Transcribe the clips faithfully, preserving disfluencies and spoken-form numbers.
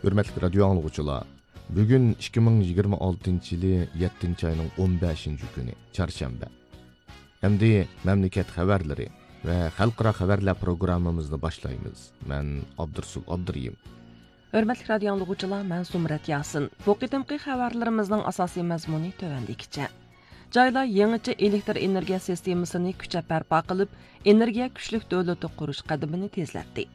ھۆرمەتلىك رادىيو ئاڭلىغۇچىلار، بۈگۈن ئىككى مىڭ يىگىرمە ئالتىنچى يىلى يەتتىنچى ئاينىڭ ئون بەشىنچى كۈنى، چارشەنبە. ئەمدى مەملىكەت خەۋەرلىرى ۋە خەلقئارا خەۋەرلەر پروگراممىمىزنى باشلايمىز. مەن ئابدۇرسۇل ئابدۇرېھىم. ھۆرمەتلىك رادىيو ئاڭلىغۇچىلار، مەن زۇمرەت ياسىن. بۇ قېتىمقى خەۋەرلىرىمىزنىڭ ئاساسىي مەزمۇنى تۆۋەندىكىچە. جايلار يېڭىچە ئېلېكتر ئېنېرگىيە سىستېمىسىنى كۈچەپ بەرپا قىلىپ، ئېنېرگىيە كۈچلۈك دۆلىتى قۇرۇش قەدىمىنى تېزلەتتى.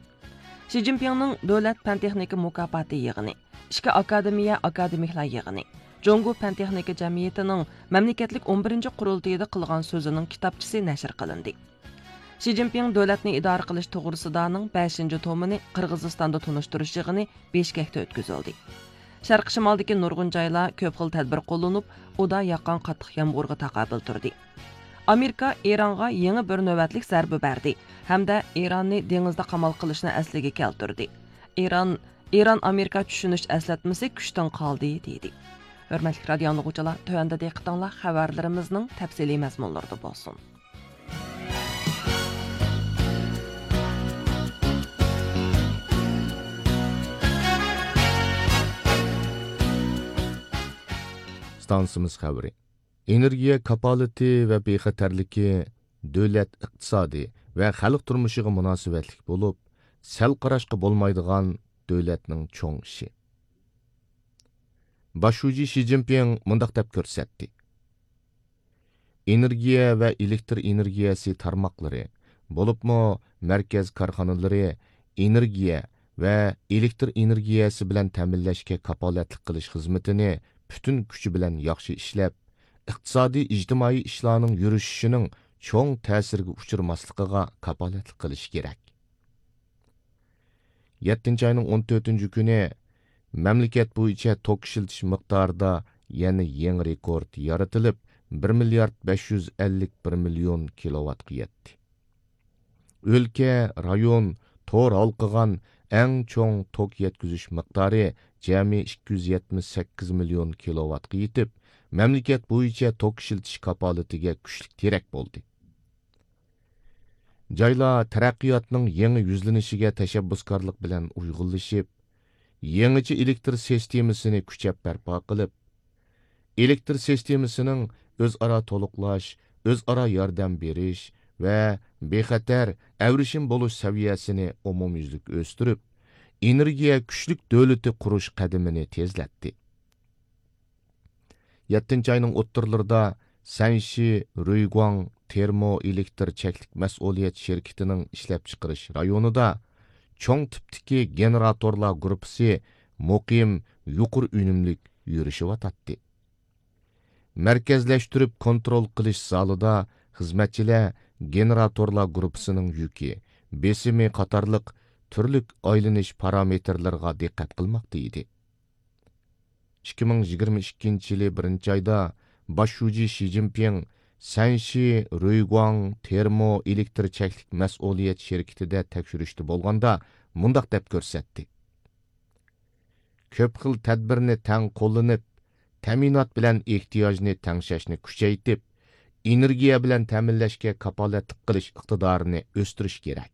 شى جىنپىڭنىڭ دۆلەت پەن-تېخنىكا مۇكاپاتى يىغىنى، ئىككى ئاكادېمىيە ئاكادېمىكلار يىغىنى، جۇڭگو پەن-تېخنىكا جەمئىيىتىنىڭ مەملىكەتلىك ئون بىرىنچى قۇرۇلتىيىدا قىلغان سۆزىنىڭ كىتابچىسى نەشر قىلىندى. شى جىنپىڭ دۆلەتنى ئىدارە قىلىش توغرىسىدانىڭ بەشىنچى تومىنى قىرغىزىستاندا تونۇشتۇرۇش يىغىنى بىشكەكتە ئۆتكۈزۈلدى. شەرقىي شىمالدىكى نۇرغۇن جايلار كۆپ خىل تەدبىر قوللىنىپ، ئۇدا ياغقان قاتتىق يامغۇرغا تاقابىل تۇردى. ئامېرىكا ئىرانغا يېڭى بىر نۆۋەتلىك زەربە بەردى ھەمدە ئىراننى دېڭىزدا قامال قىلىشنى ئەسلىگە كەلتۈردى. ئىران، ئىران ئامېرىكا چۈشىنىش ئەسلەتمىسى كۈچتىن قالدى، دېدى. ھۆرمەتلىك رادىيو ئاڭلىغۇچىلار، تۆۋەندە دىققىتىڭلار خەۋەرلىرىمىزنىڭ تەپسىلىي مەزمۇنلىرىدا بولسۇن. ئىستانسىمىز خەۋىرى. ئېنېرگىيە كاپالىتى ۋە بىخەتەرلىكى دۆلەت ئىقتىسادى ۋە خەلق تۇرمۇشىغا مۇناسىۋەتلىك بولۇپ، سەل قاراشقا بولمايدىغان دۆلەتنىڭ چوڭ ئىشى. باش شۇجى شى جىنپىڭ مۇنداق دەپ كۆرسەتتى: ئېنېرگىيە ۋە ئېلېكتر ئېنېرگىيەسى تارماقلىرى، بولۇپمۇ مەركەز كارخانىلىرى ئېنېرگىيە ۋە ئېلېكتر ئېنېرگىيەسى بىلەن تەمىنلەشكە كاپالەتلىك قىلىش خىزمىتىنى پۈتۈن كۈچى بىلەن ياخشى ئىشلەپ، ئىقتىسادىي، ئىجتىمائىي ئىشلارنىڭ يۈرۈشۈشىنىڭ چوڭ تەسىرگە ئۇچرىماسلىقىغا كاپالەتلىك قىلىشى كېرەك. يەتتىنچى ئاينىڭ ئون تۆتىنچى كۈنى مەملىكەت بويىچە توك ئىشلىتىش مىقدارىدا يەنە يېڭى رېكورت يارىتىلىپ، بىر مىليارد بەش يۈز ئەللىك بىر مىليون كىلوۋاتقا يەتتى. ئۆلكە، رايون، تور ھالقىغان ئەڭ چوڭ توك يەتكۈزۈش مىقدارى جەمئىي ئىككى يۈز يەتمىش سەككىز مىليون كىلوۋاتقا يېتىپ، مەملىكەت بويىچە توك ئىشلىتىش كاپالىتىگە كۈچلۈك تىرەك بولدى. جايلار تەرەققىياتنىڭ يېڭى يۈزلىنىشىگە تەشەببۇسكارلىق بىلەن ئۇيغۇنلىشىپ، يېڭىچە ئېلېكتر سىستېمىسىنى كۈچەپ بەرپا قىلىپ، ئېلېكتر سىستېمىسىنىڭ ئۆزئارا تولۇقلاش، ئۆزئارا ياردەم بېرىش ۋە بىخەتەر، ئەۋرىشىم بولۇش سەۋىيەسىنى ئومۇميۈزلۈك ئۆستۈرۈپ، ئېنېرگىيە كۈچلۈك دۆلىتى قۇرۇش قەدىمىنى تېزلەتتى. يەتتىنچى ئاينىڭ ئوتتۇرىلىرىدا سەنشى رۇيگۇاڭ تېرمو ئېلېكتر چەكلىك مەسئۇلىيەت شىركىتىنىڭ ئىشلەپچىقىرىش رايونىدا چوڭ تىپتىكى گېنېراتورلار گۇرۇپپىسى مۇقىم، يۇقىرى ئۈنۈملۈك يۈرۈشۈۋاتاتتى. مەركەزلەشتۈرۈپ كونترول قىلىش زالىدا خىزمەتچىلەر گېنېراتورلار گۇرۇپپىسىنىڭ يۈكى، بېسىمى قاتارلىق تۈرلۈك ئايلىنىش پارامېتىرلىرىغا دىققەت قىلماقتا ئىدى. ئىككى مىڭ يىگىرمە ئىككىنچى يىلى بىرىنچى ئايدا باش شۇجى شى جىنپىڭ سەنشى رۇيگۇاڭ تېرمو ئېلېكتر چەكلىك مەسئۇلىيەت شىركىتىدە تەكشۈرۈشتە بولغاندا مۇنداق دەپ كۆرسەتتى: كۆپ خىل تەدبىرنى تەڭ قوللىنىپ، تەمىنات بىلەن ئېھتىياجنى تەڭشەشنى كۈچەيتىپ، ئېنېرگىيە بىلەن تەمىنلەشكە كاپالەتلىك قىلىش ئىقتىدارىنى ئۆستۈرۈش كېرەك.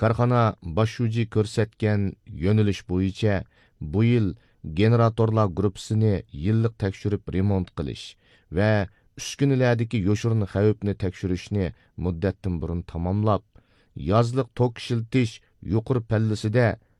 كارخانا باش شۇجى كۆرسەتكەن يۆنىلىش بويىچە بۇ يىل گېنېراتورلار گۇرۇپپىسىنى يىللىق تەكشۈرۈپ رېمونت قىلىش ۋە ئۈسكۈنىلەردىكى يوشۇرۇن خەۋپنى تەكشۈرۈشنى مۇددەتتىن بۇرۇن تاماملاپ، يازلىق توك ئىشلىتىش يۇقىرى پەللىسىدە